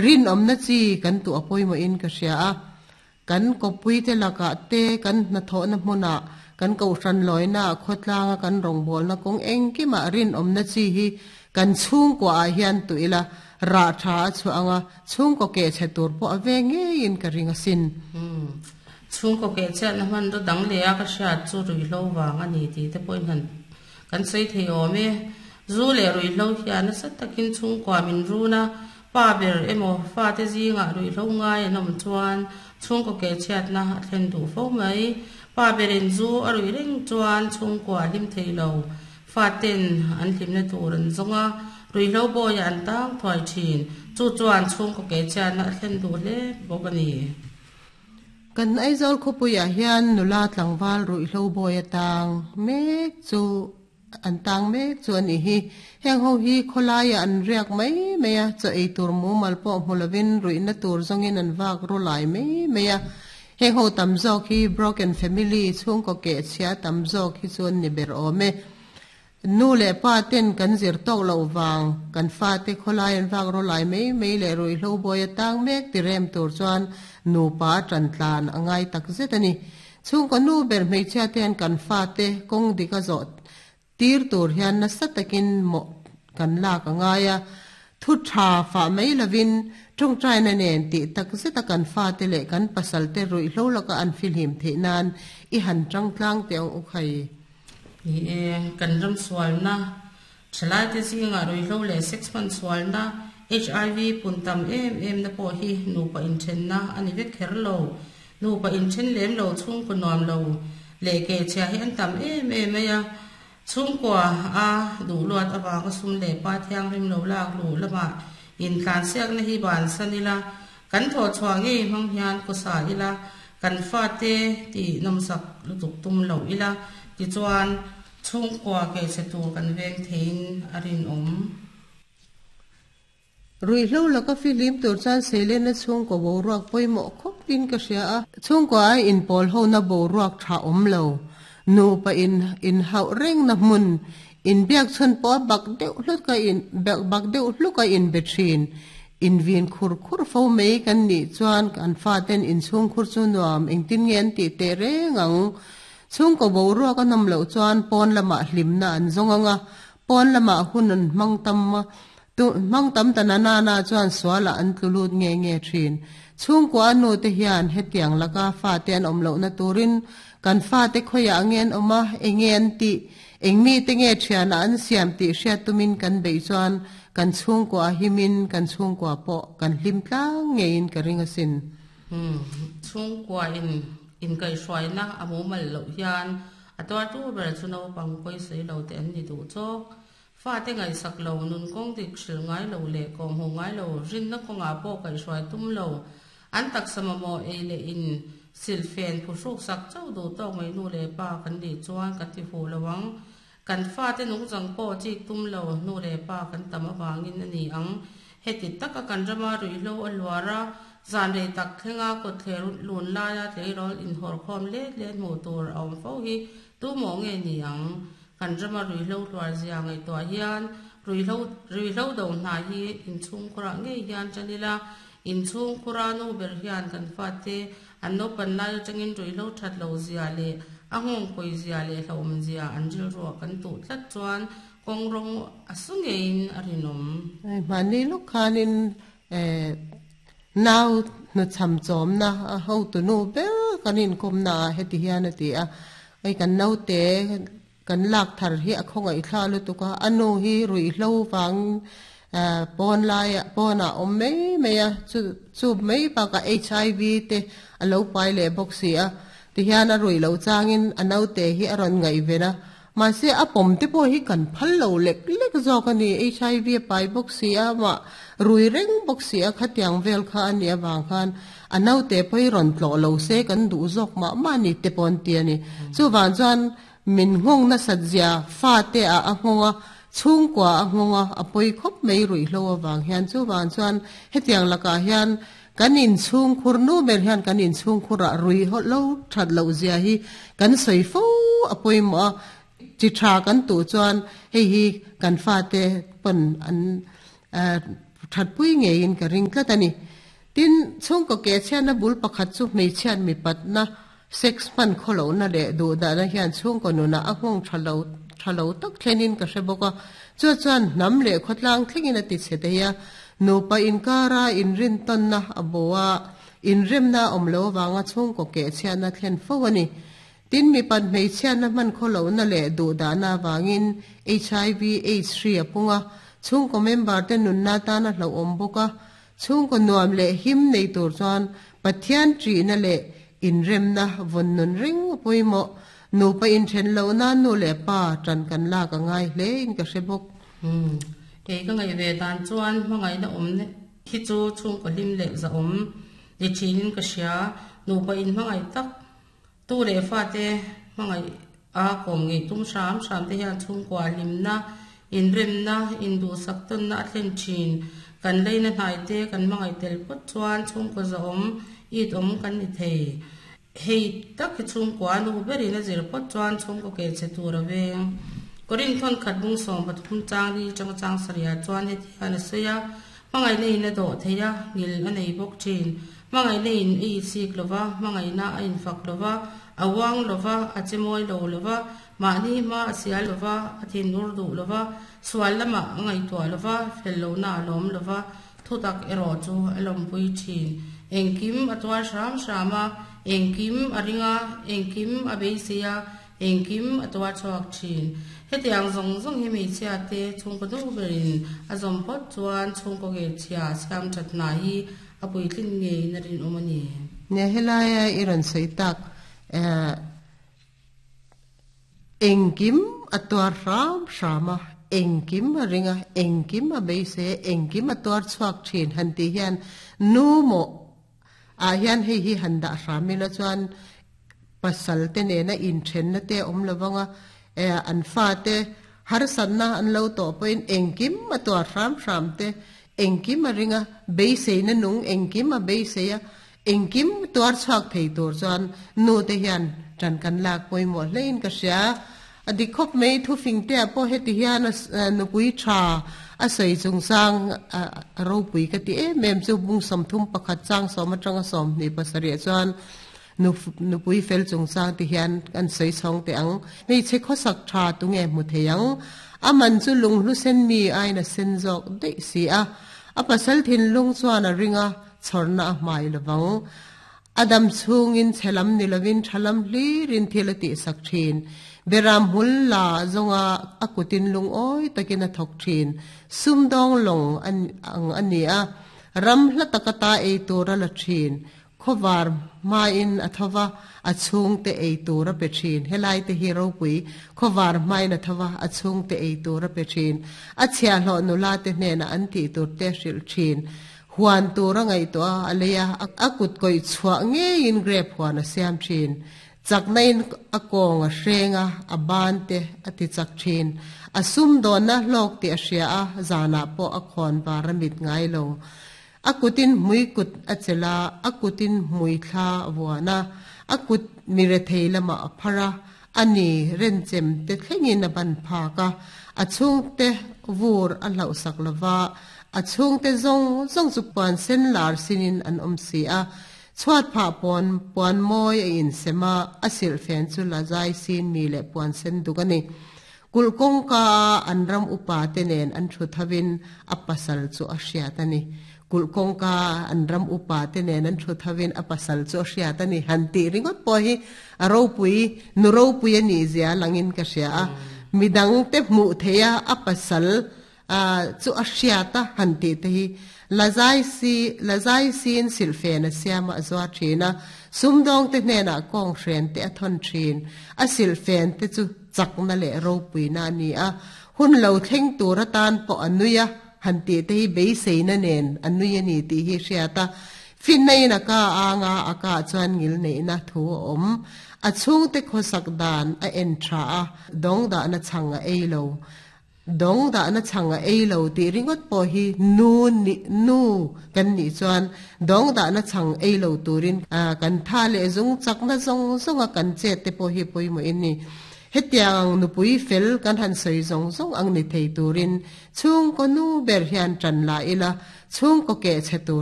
Rinawmna chi kan tuh a pawimawhin ka hria a. Kan kawppuite lakah te, kan hnathawhna hmunah, kan kohhran lawinaah, khawtlanga kan rawngbawlna kawng engkimah rinawmna chi hi kan chhungkuaah hian tuh ila, rah tha a chhuah ang a, chhungkaw keh chhe tur pawh a ve ngeiin ka ring asin. Chhungkaw keh chhiatna hmanraw dang leh a ka hriat chu ruihhlo vang a ni tih te pawhin han kan sawi thei awm e. Zu leh ruihhlo hian nasa takin chhungkua min run a, Pa ber emaw fate zingah ruihhlo ngai an awm chuan chhungkaw keh chhiatna a thlen duh fo mai. Pa berin zu a ruih reng chuan chhungkua a hlim thei lo. Faten an hlimna tur an zawng a, ruihhlo bawiah an tang thuai thin. Chu chuan chhungkaw keh chhiatna a thlen duh hle bawk a ni. Kan Aizawl khawpuiah hian nula tlangval ruihhlo bawi atang mek chu An tang mek chu a nih hi. Heng ho hi khawlaiah an riak mai mai a, chaw ei tur mumal pawh hmu lovin ruihna tur zawngin an vak ru lai mai mai a. Heng ho tam zawk hi broken family, chhungkaw keh chhia tam zawk hi chu an ni ber awm e. Nu leh pa ten kan zir tawk loh vang kan fate khawlai an vak ru lai mai mai leh ruihhlo bawi a tang mek ti rem tur chuan nupa a tan tlan a ngai takzet a ni. Chhungkaw nu ber hmeichhia te hian kan fate kawng dik a zawh tir tur hian nasa takin mawh kan lak a ngai a, thu tha fah mai lovin tawngtaina nen tih tak zeta kan fate leh kan pasalte ruihhlo laka an fihlim theih nan i han tang tlang teh ang u khai. Ni e, kan ram sualna Thalaite zingah ruihhlo leh sex hman sualna, HIV, pun tam em em na pawh hi nupa inthenna a ni vek kher lo. Nupa inthen lem lo chhungkaw nuam lo leh kehchhia hi an tam em em mai a. Chhungkua a duh luat avanga sum leh pa thianghlim lo lak luh lamah intlansiakna hi bansan ila, kan thawhchhuah ngei hmang hian kawsa ila, kan fate tih nawmsak lutuk tum lo ila, tichuan, Chhungkua keichhe tur kan veng theiin a rinawm. Ruihhlo laka fihlim tur chuan Seilenna chhungkaw boruak pawimawh khawpin ka hria a. Chhungkua ai inpawl hona boruak tha awm lo. Nupa in inhauh rengna hmun, inbiak chhun pawh a bak deuh hlut a in bak deuh hluk a inbe thin. Invin khur khur fo mai kan nih chuan kan faten inchhungkhur chu nuam engtin nge an tih teh reng ang. Chhungkaw boruak a nawm loh chuan pawn lamah hlimna an zawng ang a, pawn lamah hun an hmang tam a, tu hmang tam ta na nana chuan sualah an tlu lut nge nge thin. Chhungkua a nute hian hetiang laka fate an awm lohna turin kan fate khawiah nge an awm a, enge an tih, eng mite nge thianah an siam tih hriat tumin kan beih chuan kan chhungkua a himin kan chhungkua pawh kan hlim tlang ngeiin ka ring asin. Chhungkua in Inkaihhruaina a mumal loh hian a tuartu ber chu naupang pawisawi lo te an ni duh chawk. Fate ngaihsak lo, nun kawng dik hrilh ngai lo leh kawhhmuh ngai lo, rinna kawngah pawh kaihhruai tum lo, an taksa mamawh ei leh in silhfen phuhruk sak chauh duh tawk mai nu leh pa kan nih chuan kan ti fuh lo ang. Kan fate nungchang pawh chik tum lo, nu leh pa kan tam avangin a ni ang. Heti taka kan rama ruihhlo a hluar a, zan rei tak thlenga kawtthler lun laia tleirawl inhawrkhawm let let hmuh tur a awm fo hi tu mawh nge ni ang? Kan rama ruihhlo hluar zia ngaihtuah hian ruihhlo ruihhlo do hna hi inchhungkhurah ngei hian tan ila, inchhungkhura nu ber hian kan fate An naupan lai atangin ruihhlo that lo zia leh a nghawngkawi zia leh hlauhawm zia an rilruah kan tuh tlat chuan kawng rawng a su ngeiin a rinawm. Hmanni lawk khanin nau hnuchham chawmna a hotunu ber kan inkawmna ah heti hian a ti a, hei kan naute Kan lak thar hi a khawngaih thla lutuk a, a nu hi ruihhlo vang pawn laiah pawnah a awm mai mai a, chu chu mai bakah HIV te a lo pai leh bawk si a, tihian a ruih loh changin a naute hi a rawn ngaihven a, mahse a pawm te pawh hi kan phal lo lek lek zawk a ni, HIV a pai bawk si a, amah rui reng bawk si a, khatiang vel kha a nih avang khan a naute pawh hi rawn tlawh lo se kan duh zawk mah mah a ni te pawh an ti a ni. Chuvang chuan Min nghawng nasat zia fate ah a nghawng a, chhungkua a nghawng a, a pawi khawp mai ruihhlo avang hian. Chuvang chuan hetiang lakah hian kan inchhungkhur nu ber hian kan inchhungkhurah ruihhlo that loh zia hi kan sawi fo a pawimawh a, chi tha kan tuh chuan hei hi kan fate pawn an. Thatpui ngeiin ka ring tlat a ni. Tin, chhungkaw ke chhiatna bul pakhat chu hmeichhiat mipatna, sex hman khawlohna leh duhdahna hian chhungkaw nunah a nghawng tha lo tha lo tak thlenin ka hre bawk a. Chu chuan hnam leh khawtlang thlengin a ti chhe thei a. Nupa inkara inrintawnna a bo a, inremna a awm lo avanga chhungkaw keh chhiatna thlen fo a ni. Tin, mipat hmeichhiatna hman khawlohna leh duhdahna avangin hiv aids hri a pung a, chhungkaw member te nunna tan a hlauhawm bawk a. Chhungkaw nuam leh him nei tur chuan Pathian ṭihna leh inremna vawn nun reng a pawimawh. Nupa inthen loh nan nu leh pa ṭan kan lak a ngai hle in ka hre bawk. Umm, kei ka ngaih ve dan chuan hmangaihna awm hi chu chhungkaw hlim leh zahawm ni ṭhinin ka hria. Nupa inhmangaih tak Tu leh fate hmangaih a kawm ngei tum hram hram te hian chhungkua hlimna, inremna, induhsak tawnna a thlen thin. Kan leina hnai te kan hmangaih tel phawt chuan chhungkaw zahawm it awm kan ni thei. Hei tak hi chhungkua nu berin a zir phawt chuan chhungkaw keh che tur a veng. Korinthon khat bung 13 chang li tanga chang sarih ah chuan heti hian a sawi a, Hmangaihna in a dawh thei a, ngil a nei bawk thin. Hmangaihna in a isik lo va, hmangaihna a infak lo va, a uang lo va, a che mawi lo lo va, mahni hma a sial lo va, a thinur duh lo va, sual lamah a ngaihtuah lo va, fel lohna a lawm lo va, thutak erawh chu a lawmpui thin. Engkim a tuar hram hram a, engkim a ring a, engkim a beisei a, Engkim a tuar chhuak thin. Hetiang zawng zawng hi hmeichhia te chhungkaw duh berin a zawm phawt chuan chhungkaw ngeichhia siam that hna hi a puitlin ngeiin a rinawm a ni. Nia helaia i rawn sawi tak engkim a tuar hram hram a, engkim a ring a, engkim a beisei a, engkim a tuar chhuak thin han tih hian nu maw ah hian hei hi han dah hram ila chuan Pasal te nena inthenna te awm lo vang a, an fate harsatna an lo tawh pawhin engkim a tuar hram hram te, engkim a ring a, beiseina nung engkim a beisei a, engkim tuar chhuak thei tur chuan nu te hian ṭan kan lak pawimawh hlein ka hria. A dik khawp mai, thufing te ah pawh heti hian nupui ṭha a sawi chungchang a ropui ka ti em em chu bung 31 chang sawm aṭanga 27 chuan Nupui fel chungchang ti hian kan sawi chhawng teh ang. Hmeichhe khawsak tha tunge hmu thei ang? A man chu lunghlu sen mi aiin a sen zawk daih si a. A pasal thinlung chuan a ring a, chhawrna a hmai lovang. A dam chhungin chhe lam ni lovin tha lam hlirin thil a tihsak thin. Beram hmul la zawnga a kutin lungawi takin a thawk thin. Sumdawng lawng ang a ni a, ram hla taka ta ei tur a la thin. Khawvar hmain a tho va, a chhungte ei tur a pe thin. Helai te hi ropui, khawvar hmain a tho va, a chhungte ei tur a pe thin. A chhiahhlawh nula te hnenah an tih tur te a hrilh thin. Huan tur a ngaihtuah a, a lei a, a kut kawih chhuah ngeiin grape huan a siam thin. Chakna-in a kawng a hreng a, a ban te a ti chak thin. A sumdawnna hlawk tih a hria a, zanah pawh a khawn var a mit ngai lo. A kutin hmui kut a chelh a, a kutin hmui thla a vuan a, a kut mi rethei lamah a phar a, a ni renchem te thlengin a ban phak a, a chhungte vur a hlauhsak lo va, a chhungte zawng zawng chu puan sen lar sinin an awm si a, chhuat phah pawn puan mawi a insem a, a silhfen chu la zai sin mi leh puan sen duk a ni. Kulh kawngka a an ram upa te nen an thu thovin a pasal chu a hriat a ni. Kulh kawngka a an ram upa te nen an thu thovin a pasal chu a hriat a ni. Han tih ringawt pawh hi a ropui, nu ropui a nih zia langin ka hria a. Midang te hmuh theih a a pasal chu a hriat a han tih te hi la zai si, la zai siin silhfen a siam a, a zuar thin a. Sumdawngte hnenah kawnghren te a thawn thin. A silhfen te chu chakna leh ropuina a ni a, hun lo thleng tur atan pawh a nui a, han tih te hi beiseina nen a nui a ni tih hi hriat a, finna in a ka anga a ka chuan ngil neihna thu a awm. A chhungte khawsak dan a en tha a, dawng dahna chhang a ei lo. Dawng dahna chhang a ei lo tih ringawt pawh hi nu nih nu kan nih chuan dawng dahna chhang ei lo turin kan tha leh zung chakna zawng zawnga kan chet te pawh hi pawimawh in ni. Hetiang ang nupui fel kan han sawi zawng zawng ang ni thei turin chhungkaw nu ber hian tan la ila. Chhungkaw keh chhe tur